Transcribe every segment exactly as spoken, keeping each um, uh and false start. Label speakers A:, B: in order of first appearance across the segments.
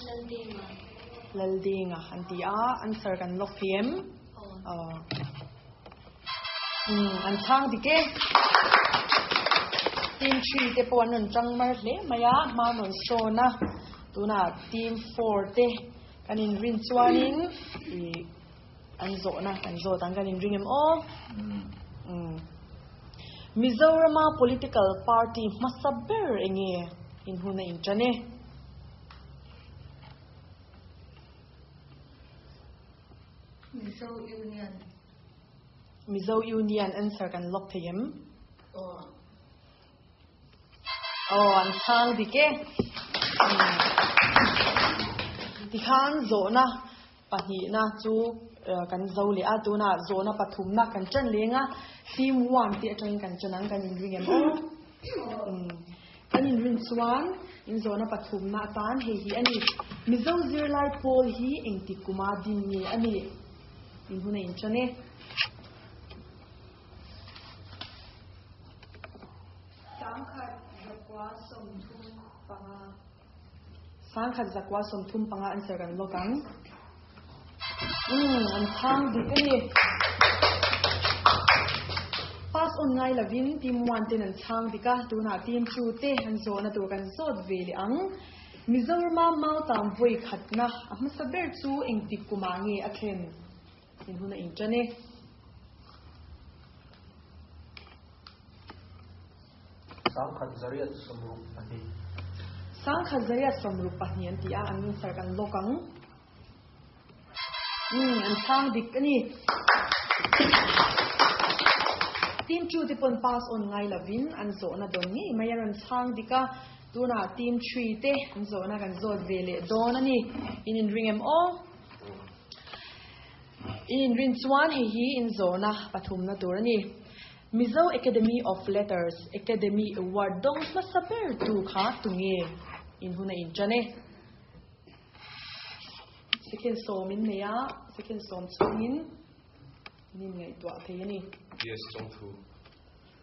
A: Laldenga.
B: Laldenga an ti a answer kan lock thei em
A: Aw.
B: Um an chhang dik e team three te pawh an rawn tang mar hle mai a hma an rawn sawn a tunah team four te kan in rin chuanin ih an zawhna kan zawt ang kan in ring em aw um Mizorama political party hmasa ber enge in hun a in tan e
A: Mizo Union.
B: Mizo Union answer kan lock thei em
A: Aw.
B: Aw an chhang dik e tikhan zawhna pahnihna chu kan zo leh a tunah zawhna pathumna kan tan leng a team one te atangin kan tan ang kan in ring em aw um kan in rin chuan in zawhna pathumna atan hei hi ani Mizo zirlai pawl hi engti kuma din nge ani in hun a in tan e
A: Sangkhat zakwa sawmthum panga.
B: Sangkhat zakwa sawmthum panga answer kan lock ang um an chhang dik ani pass on ngai lovin team one ten an chhang dik a tunah team two te an zawhna tur kan zawt ve leh ang Mizorama mautam vawi khatna a hmasa ber chu engti kuma nge a thlen in hun a in tan e
C: Sangkhat zariat sawmruk pahnih.
B: Sangkhat zariat sawmruk pahnih an ti a an answer kan lock ang um an chhang dik ani team two te pawn pass on ngai lovin an zawhna dawn ngei mai a rawn chhang dik a tunah team three te an zawhna kan zawt ve leh dawn ani in in ring em aw in in rin chuan hei hi in zawhna pathumna tur ani Mizo Academy of Letters Academy Award dawng hmasa ber tu kha tunge in hun a in tan e second sawm in nei a second sawm chhungin nin ngaihtuah thei ani
D: P S Chongthu.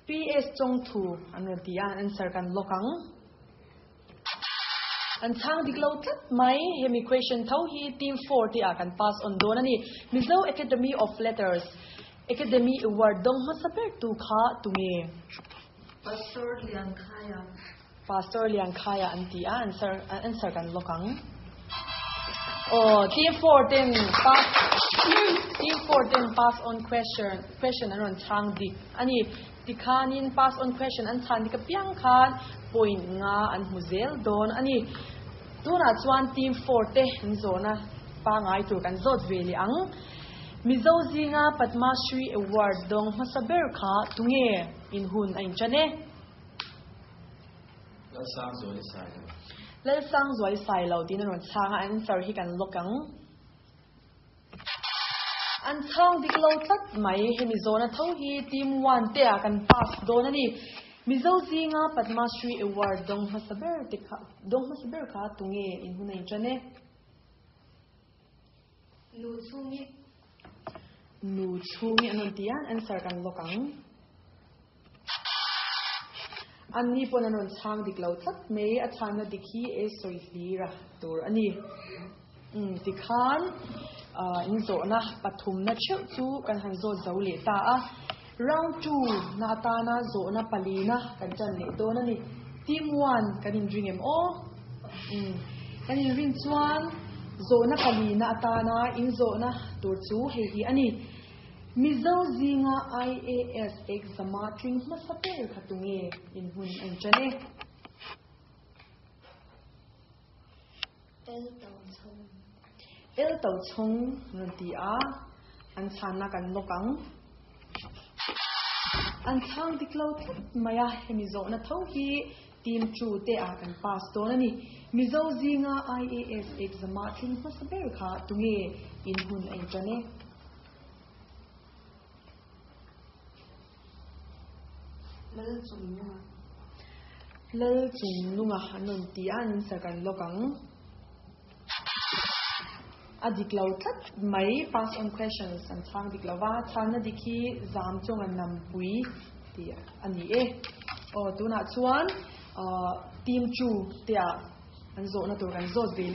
B: P S Chongthu an rawn ti a answer kan lock ang an chhang dik lo tlat mai hemi question tho hi team four te ah kan pass on dawn ani Mizo Academy of Letters Academy Award dawng hmasa ber tu kha tunge
A: Pastor Lian Khaya.
B: Pastor Lian Khaya an ti a answer answer kan lock ang aw team four ten pass team four ten pass on question question an rawn chhang dik ani tikhanin pass on question an chhan dik apiang khan point nga an hmu zel dawn ani tunah chuan team four te an zawhna pangai tur kan zawt ve leh ang Mizo zinga Padma Shri Award dawng hmasa ber kha tunge in hun a in tan e
D: Lalsang Zuali Sailo.
B: Lalsang Zuali Sailo tin an rawn chhang a answer hi kan lock ang an chhang dik lo tlat mai hemi zawhna tho hi team one te ah kan pass dawn ani Mizo zinga Padma Shri Award dawng hmasa ber te kha dawng hmasa ber kha tunge in hun a in tan e
A: Nu chhungi.
B: Nu chhungi an rawn ti a answer kan lock ang an ni pawn an rawn chhang dik lo tlat mai a chhanna dik hi e sawi hlira tur ani um tikhan in zawhna pathumna theuh chu kan han zawt zo leh ta a round two na atana zawhna palina kan tan leh dawn ani team one kan in ring em aw um kan in rin chuan zawhna palina atana in zawhna tur chu hei hi ani Mizo zinga I A S exama tling hmasa ber kha tunge in hun a in tan e
A: El Tochhawng.
B: El Tochhawng rawn ti a an chhanna kan lock ang an chhang dik lo tlat mai a hemi zawhna tho hi team two te ah kan pass dawn ani Mizo zinga I A S exama tling hmasa ber kha tunge in hun a in tan e
A: Lal Chungnunga.
B: Lal Chungnunga an rawn ti a an answer kan lock ang a dik lo tlat mai pass on questions an chhang dik lova chhanna dik hi zam chung an nampui ti ani e aw tunah chuan team two te ah an zawhna tur kan zawt ve leh